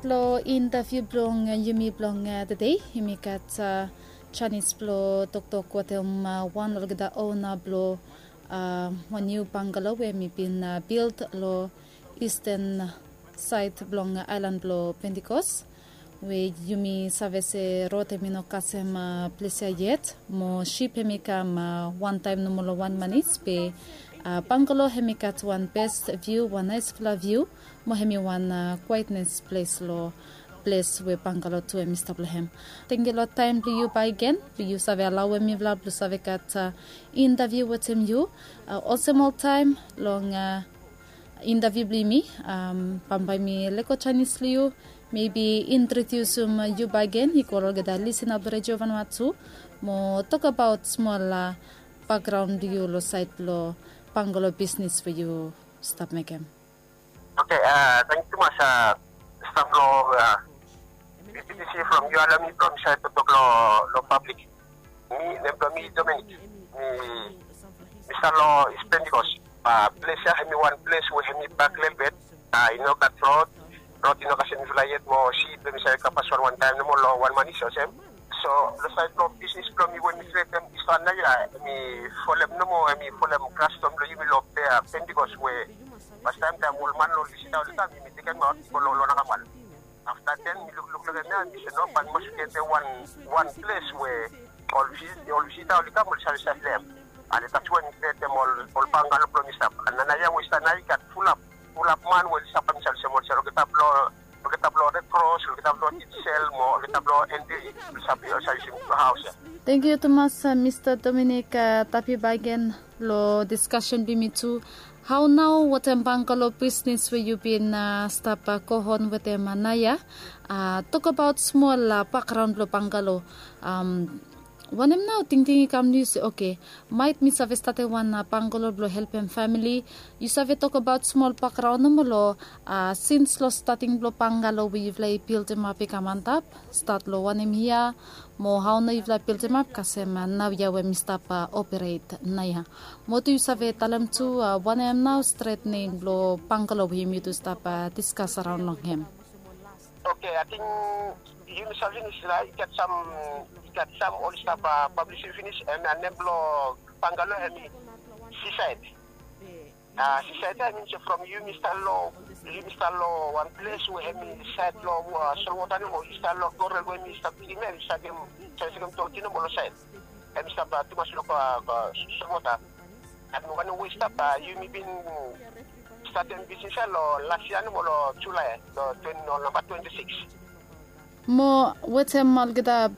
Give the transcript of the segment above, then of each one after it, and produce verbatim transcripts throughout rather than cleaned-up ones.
Long intaviu blong yumi blong tede, yumi gat janis blong toktok wetem wan olgeta ona blong wan niu bangalo we hemi bin bild long isten saed blong aelan blong Pentikos, we yumi save se rod hemi no kasem ples ya yet, mo sip hemi kam wantaem nomo long wan manis be bangalo hemi gat wan bes viu, wan naesfala viu, mo hemi wan kwaetnes ples long ples we bangalo tu hemi stap long hem. Tangkiu long taem blong yu bakegen blong yu save alaoem mifala blong save gat intaviu wetem yu. Olsem oltaem long intaviu blong yumi, bambae mi lego janis long yu, mebi introdiusum yu bakegen i go long olgeta lisena blong Redio Vanuatu, mo tokbaot smol bakgraon blong yu long saed blong bangalo bisnes we yu stap mekem. Oke, tangkiu tumas staf long B B C from yu alao mi blong mi save toktok long pablik. Mi, nem blong mi Dominic. Mi mi stap long East Pentecost. Ples ya hemi wan ples we hemi bak lelebet. I no gat rod. Rod i no kasem mifala yet mo sip hemi save kam paswan wantaem nomo long wan manis olsem. So long saed blong bisnes blong mi we mi kretem East Naya, hemi folem nomo, hemi folem kastom blong yumi long Pentecost we fastaem taem ol man long Lisita oli kam, yumi tekemaot go long Nakamal. Afta den mi lukluk long hem ya, mi se no, bae mi mas krietem wan ples we ol Lisita oli kam oli save save long hem. Ale that's why mi krietem ol bangalo blong mi stap. Nanaia we i stap nao i gat fulap fulap man we oli stap kam i save olsem olsem olgeta blong olgeta blong Red Cross, olgeta blong Titsel mo olgeta blong N D oli save oli save yusim haos ya. Tangkiu tumas Mista Dominic, tapi bakegen long diskasen blong yumi tu. Hao nao wetem bangalo bisnes we yu bin stap go on wetem naoia? Tokbaot smol bakgraon blong bangalo. Wanem nao tingting i kam long yu se oke, maet mi save statem wan bangalo blong helpem famili? Yu save tokbaot smol bakgraon nomo long sins long stating blong bangalo we yufala i bildimap i kam antap, stat long wanem yia, mo hao nao yufala bildimap kasem naoia we mi stap operet naoia? Mo tu yu save talem tu wanem nao stret nem blong bangalo we yumi tu stap diskas araon long hem? Oke, ating yumi save finis nao, i gat sam i gat sam oli stap pablis finis, hemia nem blong bangalo hemi Sisaed. Sisaed ya i min se from yumi stap long yumi stap long wan ples we hemi saed long solwota nomo, i stap long korel we hemi stap kilim ya, i stap kilim, save kilim toti nomo long saed. Hemi stap tumas long solwota. An wanem we i stap, yumi bin statem bisnis ya long las yia nomo long Julae long twen long namba twenti sikis. Mo wetem olgeta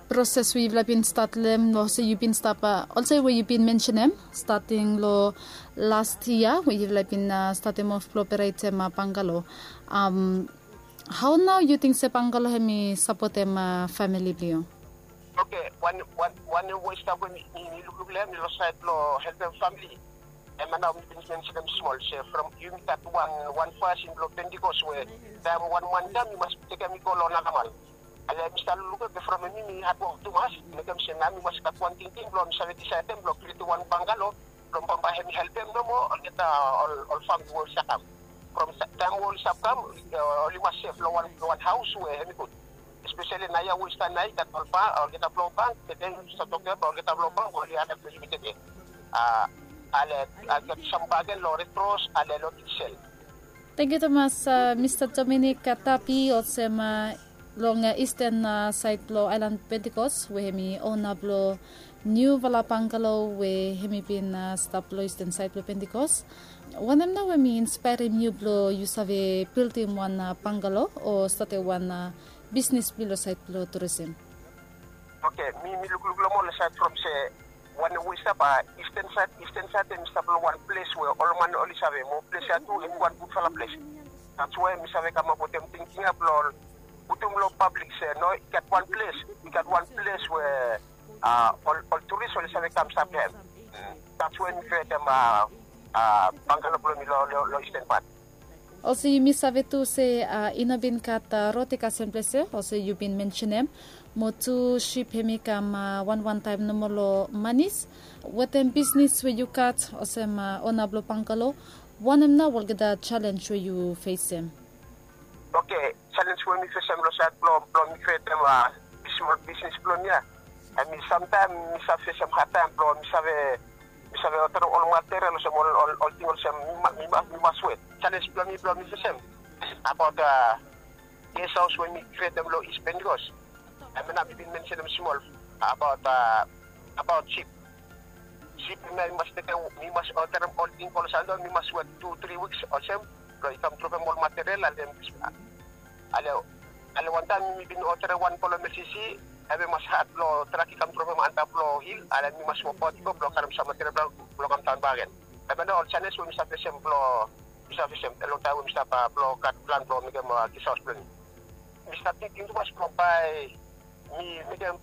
proses we yufala bin stat long hem, olsem yu bin stap olsem we yu bin mensenem, stating long las yia we yufala bin statem of blong operetem bangalo. Hao nao yu ting se bangalo hemi sapotem famili blong yu? Oke, wan wan wan we i stap we mi lukluk long hem long saed blong helpem famili. Hemia nao mi bin mensenem smol se from yumi gat wan wan fasin blong Pentikos we taem wan man i kam i mas tekem i go long Nakamal. Ale mi stap lukluk be from hemi mi hadwok tumas, mekem se nao mi mas gat wan tingting blong mi save disaedem blong krietem wan bangalo blong bambae hemi helpem nomo olgeta ol famili we oli stap kam. From taem we oli stap kam oli mas sef long wan haos we hemi gud. Espeseli naoia we i stap nao i gat ol bank, olgeta blong bank, be den oli stap tokem olgeta blong bank oli adap long yumi tede. Ale, i gat sam bakegen long Red Cross ale long Titsel. Tangkiu tumas Mista Dominic Tapi olsem long isten saed blong aelan Pentikos we hemi ona blong niufala bangalo we hemi bin stap long isten saed blong Pentikos. Wanem nao we hemi inspaerem yu blong yu save bildim wan bangalo o statem wan bisnis blong yu long saed blong turisim? Oke, mi mi lukluk long hem long saed from se wanem we i stap, isten saed, isten saed hemi stap long wan ples we ol man oli save mo ples ya tu hemi wan gudfala ples. That's why mi save kamap wetem tingting ya blong putum long pablik se no, i gat wan ples, i gat wan ples we ol ol turis oli save kam stap long hem. That's why mi krietem bangalo blong mi long long isten pat. Olsem yumi save tu se i no bin gat rod i kasem ples ya olsem yu bin mensenem, mo tu sip hemi kam wanwan taem nomo long manis. Wetem bisnis we yu gat olsem ona blong bangalo, wanem nao olgeta jalenj we yu fesem? Oke, Challenge we mi fesem long sait blong mi krietem smol bisnis blong mi ya. Em i samtaem mi save fesem hadtaem blong mi save mi save oterem ol material olsem ol ol ting olsem mi mas wet. Challenge blong mi blong mi fesem abaot guest house we mi krietem long East Pentecost. Em ya nao mi bin mensenem smol abaot abaot sip. Sip mi mas tekem mi mas oterem ol ting ol sando mi mas wet tu tri wiks olsem blong i kam dropem ol material ale ale ale wantaem mi bin oterem wan blong mesisi. Em i mas had blong trak i kam dropem antap long hil ale mi mas wokbaot i go blong karem sam material blong kam daon bakegen. Em ya nao ol challenge we mi save fesem blong mi save fesem long taem we mi stap blong gat plan blong mekem guest house blong mi. Mi stap tingting tumas blong bae mi mekem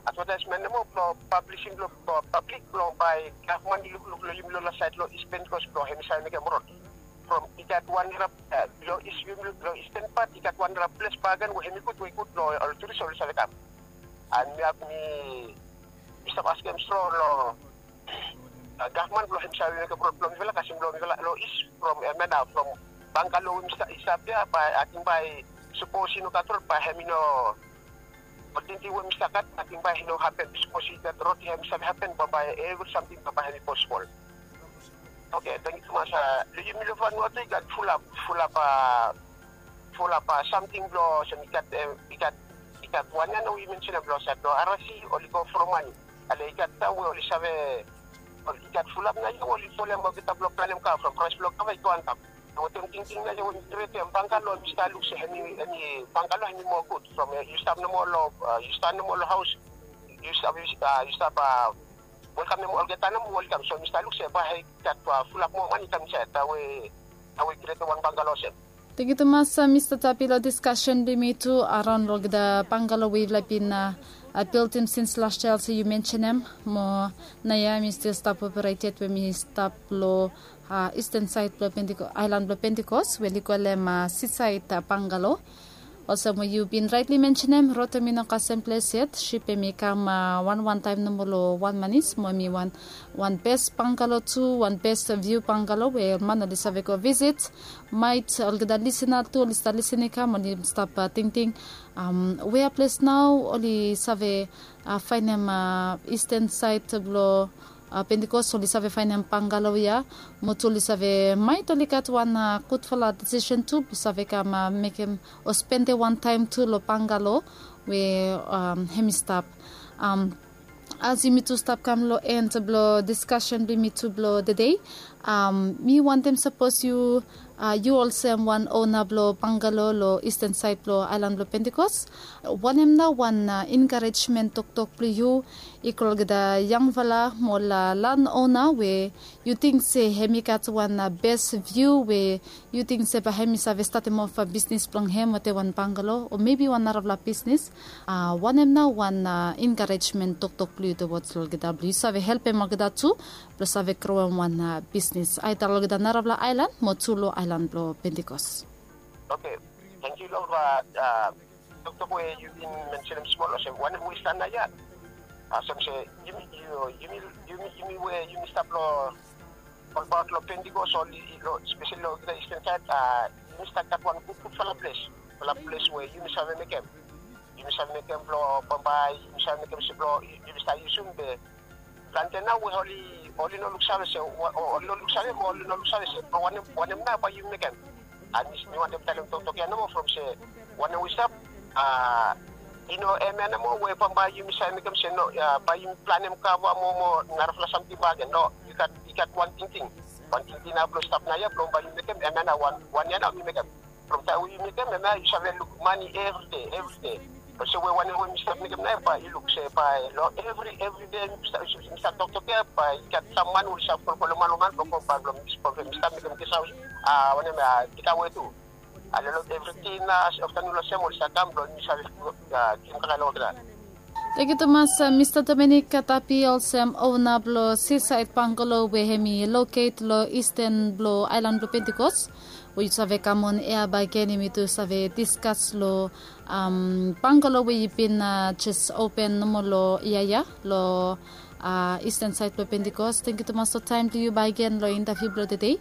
advataesmen nomo blong pablisim long pablik blong bae gavman i lukluk long yumi long la sait long East Pentecost blong hem i save mekem rod. From i gat wan rap long East yumi long Eastern pat i gat wan rap ples bakegen we hem i gud we i gud long ol turis oli save kam. An mi hap mi mi stap askem strong long gavman blong hem i save mekem rod blong mifala kasem blong mifala long East from em ya nao from Bangalo we mi stap ya bae ating bae sapos i no gat rod bae hem i no ol tingting we mi stap gat ating bae i no hapen sapos i gat rod hem i save hapen bambae evri samting bambae hem i posibol. Oke, tangkiu tumas. Long yumi long Vanuatu i gat fulap fulap fulap samting blong olsem i gat i gat i gat wan ya nao i mensenem blong sait blong arasi oli go from mani. Ale i gat taem we oli save i gat fulap nao ya we oli folem olgeta blong planem kava from praes blong kava i go antap. Wetem tingting nao ya we mi krietem Bangalo mi stap luk se hemi hemi Bangalo hemi moa gud from yu stap nomo long yu stap nomo long haos yu stap yu stap welkamem olgeta nomo oli kam so mi stap luk se bae i gat fulap moa mani i kam insaed taem we taem we i krietem wan Bangalo olsem. Tangkiu tumas Mista Tapi long diskasen blong yumi tu araon long olgeta Bangalo we yufala bin bildim sins las yia olsem yu mensenem. Mo naoia mi stil stap operet yet we mi stap long Eastern sait blong Pentecost, aelan blong Pentecost we oli kolem Seaside Bangalo. Olsem we yu bin raetli mensenem, rod hem i no kasem ples yet, sip hem i kam wan wan taem nomo long wan manis mo hem i wan wan bes Bangalo tu, wan bes viu Bangalo we ol man oli save go visit. Maet olgeta lisena tu oli stap lisen i kam oli stap tingting wea ples nao oli save faenem Eastern sait blong Pentecost oli save faenem Bangalo ya. Mo tu oli save maet oli gat wan gudfala disisen tu blong save kam mekem o spendem wan taem tu long Bangalo we hem i stap. As yumi tu stap kam long en blong diskasen blong yumi tu blong tede, mi wantem sapos yu yu olsem wan ona blong Bangalo long Eastern sait blong aelan blong Pentecost, wanem nao wan enkarejmen toktok blong yu i go long olgeta yangfala mo ol lan ona we yu ting se hem i gat wan bes viu we yu ting se bae hem i save statem ofa bisnis blong hem wetem wan Bangalo o mebi wan narafala bisnis? Wanem nao wan enkarejmen toktok blong yu towards long olgeta blong yu save helpem olgeta tu blong save groem wan bisnis aeda long olgeta narafala aelan mo tu long aelan blong Pentecost? Oke, tangkiu long toktok we yu bin mensenem smol olsem wanem we i stap naoia. Olsem se yumi yumi yumi yumi we yumi stap long olbaot long Pentecost o spesali long olgeta Eastern sait, yumi stap gat wan gudgudfala ples, fala ples we yumi save mekem. Yumi save mekem blong bambae yumi save mekem se blong yumi stap yusum be plante nao we oli oli no luksave se oli no luksave mo oli no luksave se blong wanem wanem nao bae yumi mekem. An mi wantem talem toktok ya nomo from se wanem we i stap i no hemia nomo we bambae yumi save mekem se no bae yumi planem kava mo mo narafala samting bakegen. No, i gat i gat wan tingting. Wan tingting nao blong stap naoia blong bae yumi mekem hemia nao wan wan ya nao mi mekem. From taem we yu mekem hemia yu save luk mani evride evride. Olsem we wanem we mi stap mekem nao bae yu luk se bae long evri evride mi stap toktok ya bae i gat sam man we oli save kolem man long man blong go bae blong mi stap mekem guest house, wanem ya, tekawe tu. Ale long evri dina aftanoen olsem oli save kam blong mi save givim kakae long olgeta. Tangkiu tumas Mista Dominic Katapi olsem ona blong Seaside Bangalo we hem i loket long Eastern blong aelan blong Pentecost. We yu save kam on ea bakegen yumi tu save diskas long Bangalo we yu bin jes open nomo long yia ya long Eastern sait blong Pentecost. Tangkiu tumas long taem blong yu bakegen long intaviu blong tede.